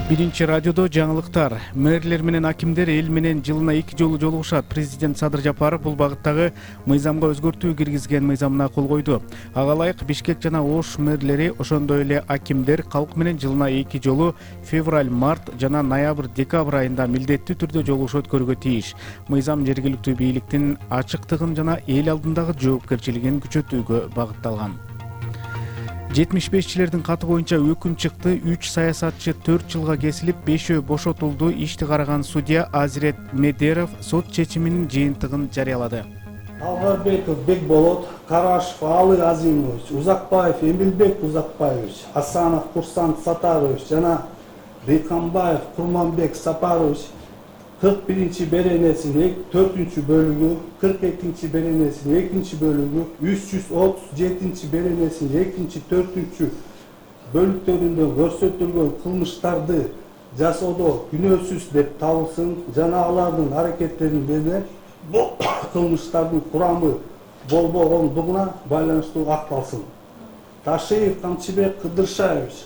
Биринчи радиодо жаңылыктар. Мэрлер менен акимдер эл менен жылына 2 жолу жолугушат. Президент Садыр Жапаров бул багыттагы мыйзамга өзгөртүү киргизген мыйзамына кол койду. Ага ылайык Бишкек жана Ош мэрлери, ошондой эле акимдер калк менен жылына 2 жолу февраль, март жана ноябрь, декабрь айында милдеттүү түрдө жолугуш өткөрүүгө тийиш. Мыйзам жергиликтүү бийликтин ачыктыгын жана эл алдындагы жоопкерчилигин күчөтүүгө багытталган. 75-чилердин каты боюнча өкүм чыкты. 3 саясатчы 4 жылга кесилип, 5-өө бошотулду. Ишти караган судья Азирет Медеров сот чечиминин жыйынтыгын жарыялады. Алгарбеков Бекболот, Карашев Алы Азимович, Узакбаев Эмилбек Узакбаевич, Асанов Курсант Сатарович жана Дыйканбаев Курманбек Сапарович 41-чи беренесинин 4-чү бөлүгү, 42-чи беренесинин 2-чи бөлүгү, 337-чи беренесинин 2-чи, 4-чү бөлүктөрүндө көрсөтүлгөн кылмыштарды жасоодо күнөөсүз деп табылсын жана алардын аракеттеринде бул кылмыштардын курамы болбогондугуна байланыштуу акталсын. Ташиев Камчыбек Кыдыршаевич